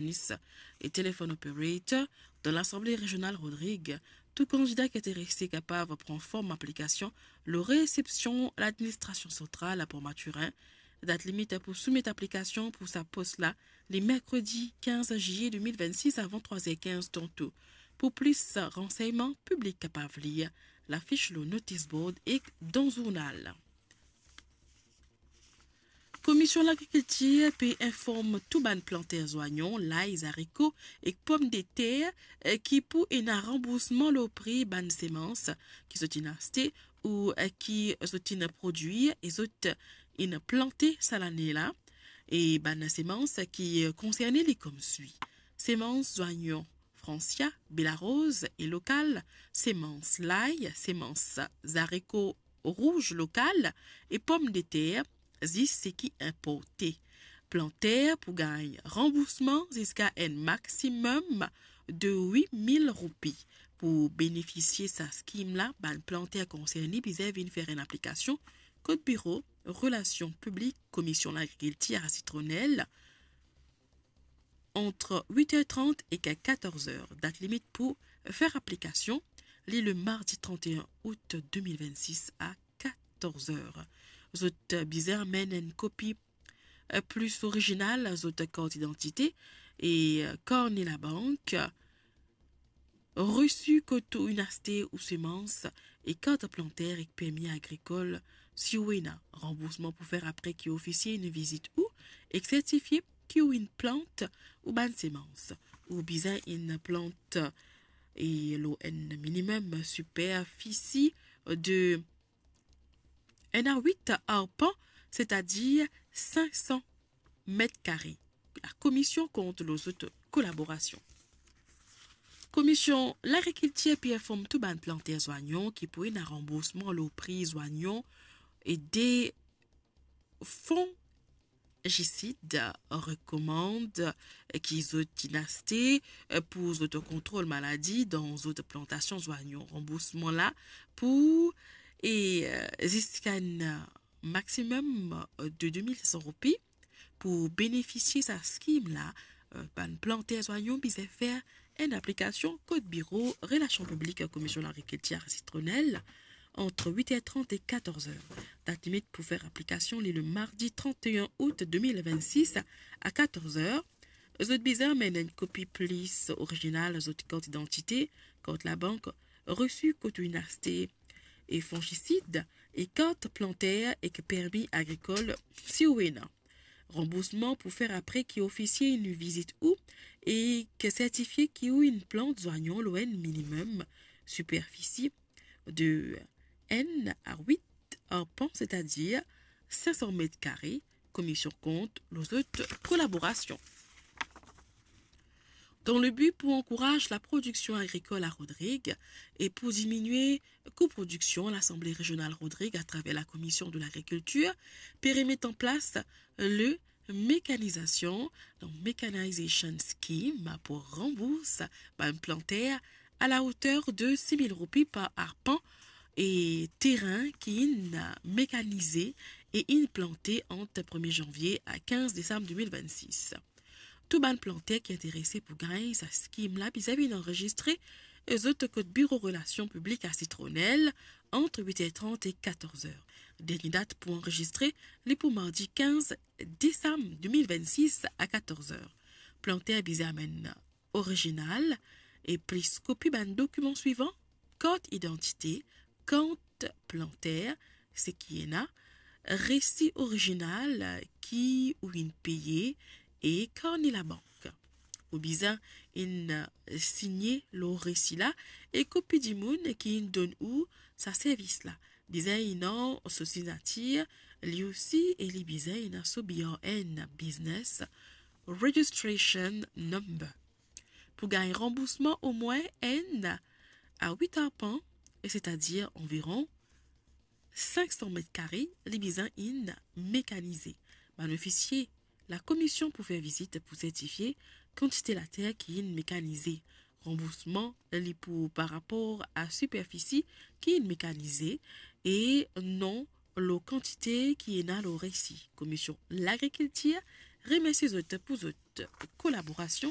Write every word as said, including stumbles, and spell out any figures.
Nis e telephone operator dan Lasanble Rezional Rodrig. Tou kandida ki interese kapav pran form aplikasion lor resepsion ladministrasion santral a Port Mathurin. Dat limit pou soumet aplikasion pou sa pos la, li merkredi kinz zilie de mil vennsis avan trwa er kinz tanto. Pou plis ransegnman, piblik kapav lir lafis lor notis board ek dan zournal. Komision Lagrikiltir pe inform tou bann planter zwayon, lay, zariko ek pomdeter, eh, ki pou ena ranboursman lor pri bann semans ki zot inn aste ou, eh, ki zot inn prodwir e zot inn plante sa lane la. E bann semans ki, eh, konserne li koumswi: semans zwayon Francia, Belaroz e lokal, semans lay, semans zariko rouz lokal e pomdeter, zis seki inporte. Planter pou gagn ranboursman ziska enn maximum de wit mil roupi. Pou benefisie sa skim la, bann planter konserne bizin vinn fer enn aplikasion kot biro relasion piblik Komision Lagrikiltir a Sitronel ant wit er trant ek katorz er. Dat limit pou fer aplikasion, li le mardi trant er out de mil vennsis a katorz er. Zot bizin amenn enn kopi, eh, plis orizinal zot kart idantite e, eh, karne labank, resi kot ou inn aste ou semans e kart planter ek permi agrikol, si ou ena. Ranboursman pou fer apre ki ofisie inn vizit ou ek sertifie ki ou inn plant ou bann semans. Ou bizin inn plant e lor enn minimum siperfisi de enn a wit arpan, setadir sink san met kare. Lakomision kont lor zot kolaborasion. Komision Lagrikiltir pe inform tou bann planter zwayon ki pou ena ranboursman lor pri zwayon e de fonjisid rekomand ki zot inn aste pou zot kontrol maladi dan zot plantasion zwayon. Ranboursman la pou e, eh, ziska enn maximum de de mil san roupi. Pou benefisie sa skim la, eh, bann planter zwayon bizin fer enn aplikasion kot biro relasion piblik Komision Lagrikiltir a Sitronel ant wit er trant e katorz er. Dat limit pou fer aplikasion li le mardi trant er out de mil vennsis a katorz er. Zot bizin amenn enn kopi plis orizinal zot kart idantite, kart labank, resi kot ou inn aste e fonjisid e kart planter ek permi agrikol, si ou ena. Ranboursman pou fer apre ki ofisie inn vizit ou e ki sertifie ki ou inn plant zwayon lor enn minimum siperfisi de enn a wit arpan, setadir sink san met kare. Komision kont lor zot kolaborasion. Dan le bi pou ankouraz laprodiksion agrikol a Rodrig e pou diminie kou prodiksion, Lasanble Rezional Rodrig, atraver Lakomision de Lagrikiltir, pe remet an plas le mekanizasion, donc Mechanization Scheme, pou ranbours bann planter a la oter de sis mil roupi par arpan e terin ki inn mekanize e inn plante ant premie zanvie a kinz desam de mil vennsis. Tou bann planter ki interese pou gagn sa skim la bizin vinn anrezistre zot kot biro relasion piblik a Sitronel ant wit er trant e katorz er. Dernie dat pou anrezistre li pou mardi kinz desam de mil vennsis a katorz er. Planter bizin amenn orizinal e plis kopi bann dokiman swivan: kart idantite, kart planter, seki ena, resi orizinal ki ou inn peye e karne labank. Ou bizin inn signe lor resi la e kopi dimoun ki inn donn ou sa servis la. Bizin ena so signatir li osi e li bizin ena so B R N, Business Registration Number. Pou gagn ranboursman omwin enn a wit arpan, e setadir anviron sink san met kare, li bizin inn mekanize. Bann ofisie Lakomision pou fer vizit pou sertifie kantite later ki inn mekanize. Ranboursman li pou par rapor a siperfisi ki inn mekanize e non lor kantite ki ena lor resi. Komision Lagrikiltir remersie zot pou zot kolaborasion